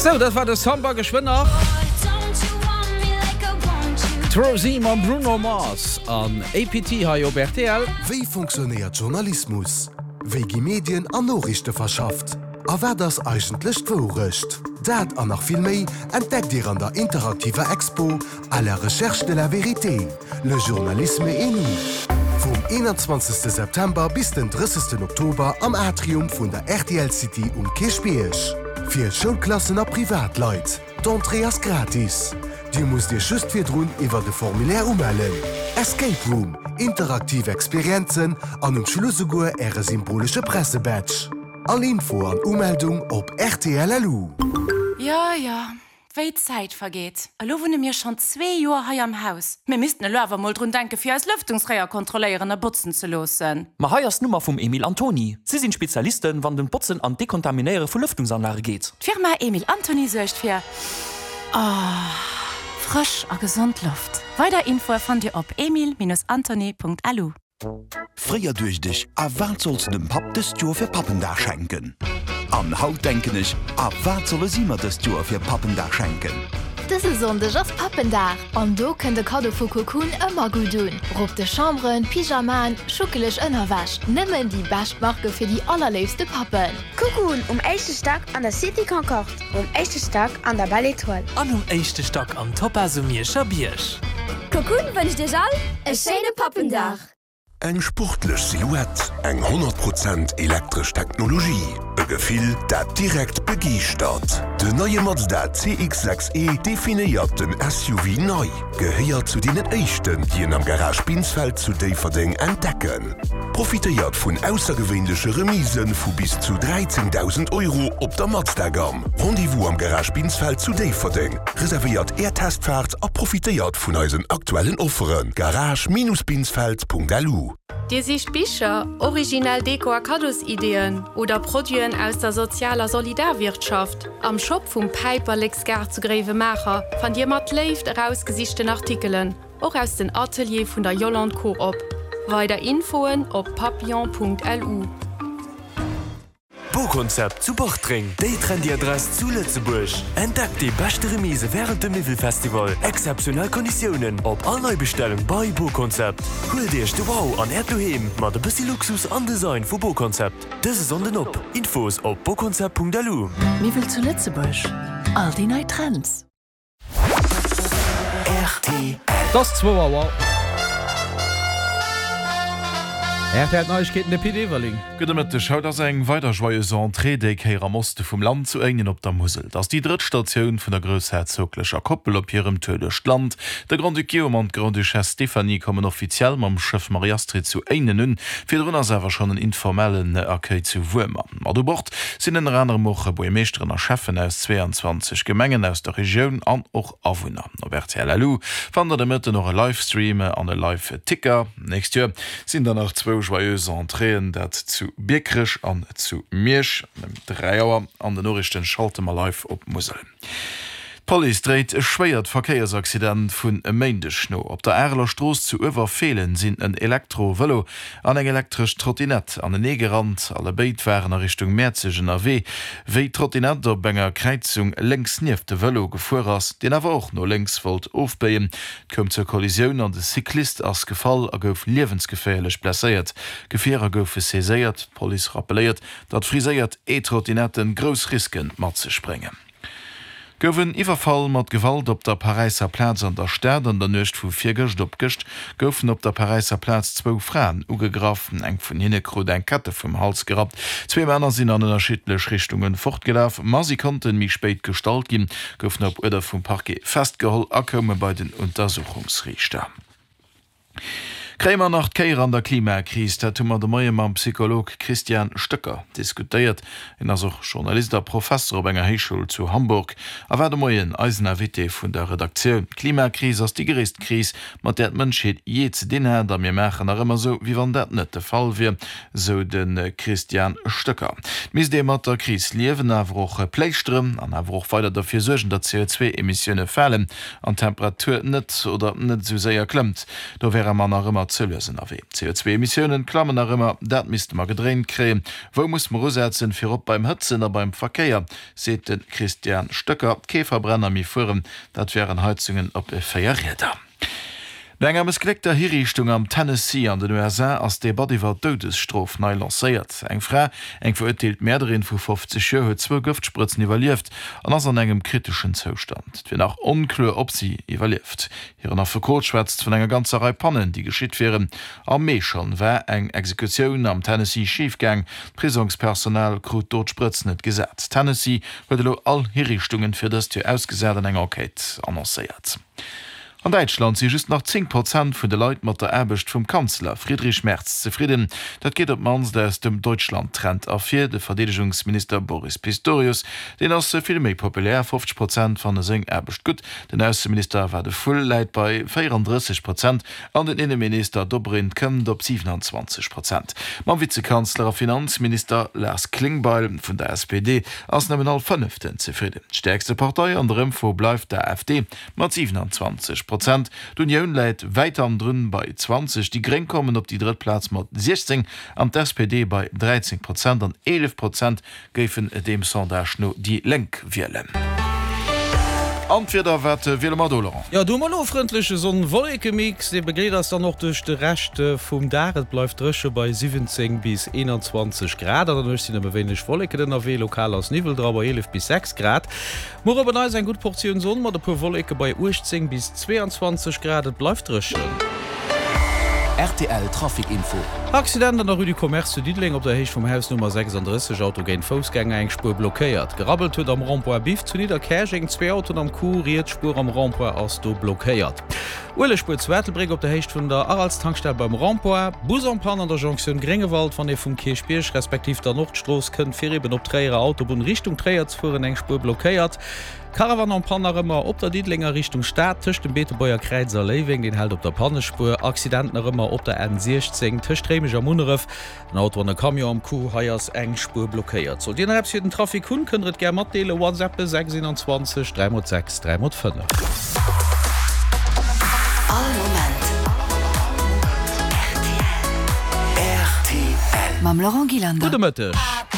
Sou, dat war de Samba. Geschwënn nach d'Rosie mam Bruno Mars an APT hei op rtl. Wéi fonctionnéiert Journalismus? Wéi gi Medien an Noriichte verschafft? A wat ass eigentlech d'Wourecht? Dat an nach vill méi entdeckt Dir an der interaktiver Expo À la recherche de la vérité, le journalisme et nous vum 21 September bis den 30 Oktober am Atrium vun der rtl City um Kierchbierg. Fir Schoulklassen a Privatleit, d'Entrée ass gratis. Dir musst Iech just virdrun iwwert e Formulaire umellen. Escape Room, interaktiv Experienzen an um Schluss esouguer Äre symbolesche Pressebadge. All Info an Umeldung op rtl.lu. Jo, jo, wéi d'Zäit vergeet. Elo wunne mir schonn zwee Joer hei am Haus. Mir missten elo awer mol drun denke fir eis Lëftungsréier kontrolléieren a botzen ze loossen. Ma hei ass d'Nummer vum Emil Antony. Si sinn d'Spezialisten, wann et ëm d'Botzen an d'Dekontaminéiere vu Lëftungsanlage geet. D'Firma Emil Antony suergt fir frësch a gesond Loft. Weider Infoe fannt Dir op emil-antony.lu. Fréier duecht ech, A wat solls de dem Papp dëst Joer fir Pappendag schenken? An haut denken ech, A wat solle si mer dëst Joer fir Pappendag schenken? Dëse Sonndeg ass Pappendag an do kënnt e Kaddo vu Cocoon ëmmer gutt un. Rob de Chamberen, Pyjamaen, schuckeleg Ënnerwäsch, nëmmen déi bescht Marke fir déi allerléifste Pappen. Cocoon um éischte Stack an der Cité Concorde, um éischte Stack an der Belle Etoile. An um éischte Stack am Topaz um Mierscher Bierg. Cocoon wënscht iech all e schéine Pappendag! Eng sportlech Silhouette, eng 100 Prozent elektresch Technologie, e Gefill, dat direkt begeeschtert. Den neie Mazda CX-6 E definéiert den SUV nei. Gehéiert zu deenen éischten, déi en am Garage Binsfeld zu Déifferdeng entdecken. Profitéiert vun aussergewéinleche Remisë vu bis zu 13.000 Euro op der Mazda-Gamm. Rendez-vous am Garage Binsfeld zu Déifferdeng. Reservéiert Är Testfaart a profitéiert vun eisen aktuellen Offeren. Garage-binsfeld.lu. Dir sicht Bicher, originell Deko a Kaddosideeën oder Produiten aus der Sozial a Solidarwirtschaft? Am Shop vum Päiperleksgaart zu Gréiwemaacher fannt Dir mat Léift erausgesichten Artikelen, och aus den Ateliere vun der Yolande Coop. Weider Infoen op papillon.lu. Boconcept zu Bartreng, déi trendy Adress zu Lëtzebuerg. Entdeckt déi beschte Remise wärend dem Miwwelfestival. Exzeptionell Konditiounen op all Neibestellung bei Boconcept. Huelt Iech de Wow an Äert Doheem mat e bëssi Luxus an Design vu Boconcept. Dëse Sonnden op! Infos op boconcept.lu. Miwwel zu Lëtzebuerg, all déi nei Trends. Rtl. Et ass zwou Auer. Rtl Neiegkeeten, de Pit Everling. Gudde Mëtteg. Haut ass eng weider Joyeuse Entrée, déi Kéier am Oste vum Land, zu Éinen op der Musel. Et ass déi drëtt Statioun vun der groussherzoglecher Koppel op hirem Tour duerch d'Land. De Grand-Duc Guillaume an d'Grande-Duchesse Stéphanie kommen offiziell mam Schëff Marie-Astrid zu Éinen un. Virdrun ass awer schonn en informellen Accueil zu Wuermer. Mat u Bord sinn ënner anerem och Buermeeschteren a Schäffen aus 22 Gemengen aus der Regioun an och Awunner. Op rtl LU fannt der de Mëtten och e Livestream an e Live-Ticker. Nächst Joer sinn der nach zwou Joyeuses Entréeën, dat zu Biekerech an zu Miersch. Ëm 3 Auer an den Noriichten schalte mer live op d'Musel. D'Police dréit e schwéiert Verkéiersaccident vun e Méindeg no. Op der Areler Strooss zu Uewerfeelen sinn en Elektro-Vëlo an eng elektresch Trottinett anenee gerannt. Allebéid waren a Richtung Mäerzeg ënnerwee, wéi d'Trottinett op enger Kräizung lénks nieft de Vëlo gefuer ass, deen awer och no lénks wollt ofbéien. Et koum zur Kollisioun an de Cyclist ass gefall a gouf liewensgeféierlech blesséiert. Gefierer goufe saiséiert. D'Police rappelléiert, datt friséiert E-Trottinetten grouss Riske mat sech bréngen. Gouf en Iwwerfall mat Gewalt op der Paräisser Plaz an der Stad. An der Nuecht vu virgëscht op gëscht goufen op der Paräisser Plaz zwou Fraen ugegraff. Eng vun hinne krut eng Kette vum Hals gerappt. Zwee Männer sinn an ënnerschiddlech Richtunge fortgelaf, ma si konnten méi spéit gestallt ginn, goufen op Uerder vum Parquet festgeholl a koume bei den Untersuchungsriichter. Kréie mer nach d'Kéier an der Klimakris? Dat hu mer de Moie mam Psycholog Christian Stöcker diskutéiert. Hien ass och Journalist a Professer op enger Héichschoul zu Hamburg a war de Moien eisen Invité vun der Redaktioun. D'Klimakris ass déi gréisst Kris, mat där d'Mënschheet jee ze dinn hat a mir maachen nach ëmmer esou, wéi wann dat net de Fall wier, sou de Christian Stöcker. Et misst ee mat der Kris liewen, awer och pléischteren an awer och weider derfir suergen, datt d'CO2-Emissioune falen an d'Temperatur net oder net esou séier klëmmt. Do wäre mer nach ëmmer. ëmmer ze lues ënnerwee. D'CO2-Emissiounen klammen nach ëmmer, dat misste mer gedréint kréien. Wou musse mer usetzen? Virop beim Hëtzen a beim Verkéier, seet de Christian Stöcker. Kee Verbrenner méi fueren, dat wären Heizungen op 4 Rieder. No enger mëssgléckter Hiriichtung am Tennessee an den USA ass d'Debatt iwwer d'Doudesstrof nei lancéiert. Eng Fra, eng verurteelt Mäerderin vu 50 Joer, huet zwou Gëftsprëtzen iwwerlieft an ass an engem kriteschen Zoustand. Et wier nach onkloer, ob si iwwerlieft. Hiren Affekot schwätzt vun enger ganzer Rei Pannen, déi geschitt wieren. Am Mee schonn war eng Exekutioun am Tennessee schif gaang. D'Prisongspersonal krut do d'Sprëtz net gesat. Tennessee huet elo all Hiriichtungen fir dëst Joer ausgesat an eng Enquête annoncéiert. An Däitschland si just nach 10 Prozent vun de Leit mat der Aarbecht vum Kanzler Friedrich Merz zefridden. Dat geet op d'mannst aus dem Deutschland-Trend ervir. De Verdeedegungsminister Boris Pistorius, deen ass vill méi populär, 50 Prozent fanne seng Aarbecht gutt. Den Ausseminister Wadephul läit bei 34 Prozent an den Inneminister Dobrindt kënnt op 27 Prozent. Mam Vizekanzler a Finanzminister Lars Klingbeil vun der SPD ass nëmmen all Fënneften zefridden. D'stäerkste Partei an der Ëmfro bleift d'AfD. Mat 27 Prozent. D'Unioun läit wäit hannendrun bei 20, déi Gréng kommen op déi drëtt Plaz mat 16 an d'SPD bei 13 Prozent an 11 Prozent géifen deem Sondage no déi Lénk wielen. An d'Wieder, wat wiele mer do, Laurent? Jo, do hu mer elo e frëndleche Sonn-Wolleke-Mix, dee begleet eis dann och duerch de Rescht vum Dag. Et bleift dréche bei 17 bis 21 Grad. An der Nuecht sinn nëmme wéineg Wolleken ënnerwee, lokal ass Niwwel dra bei 11 bis 6 Grad. Muer op en Neits eng gutt Portioun Sonn mat e puer Wolleke bei 18 bis 22 Grad. Et bleift dréchen. Rtl Trafic Info. Accident an der Rue du Commerce zu Diddeleng op der Héicht vum Haus Nummer 36, Auto géint Foussgänger, eng Spuer blockéiert. Gerabbelt huet am Rond-point Biff zu Nidderkäerjeng, zwee Autoen am Coup, riets Spuer am Rond-point ass do blockéiert. Uelegspuer zu Ettelbréck op der Héicht vun der Aralstankstell beim Rond-point. Bus en panne an der Jonktioun Gréngewald, wann ee vum Kierchbierg respektiv der Nordstrooss kënnt fir eben op d'Tréierer Autobunn Richtung Tréier ze fueren, eng Spuer blockéiert. Caravan en panne nach ëmmer op der Diddelenger Richtung Stad tëscht dem Beetebuerger Kräiz a Léiweng, deen hält op der Pannespuer. Accident nach ëmmer op der N 16 tëscht Réimech a Munneref. En Auto an e Camion am Coup, hei ass eng Spuer blockéiert. Sollt Dir nach eppes fir den Trafic hunn, kënnt der et gär matdeelen, WhatsAppen 6 21 3 x 6 3 x 5. All Moment rtl. Mam Laurent Gillander. Gudde Mëtteg.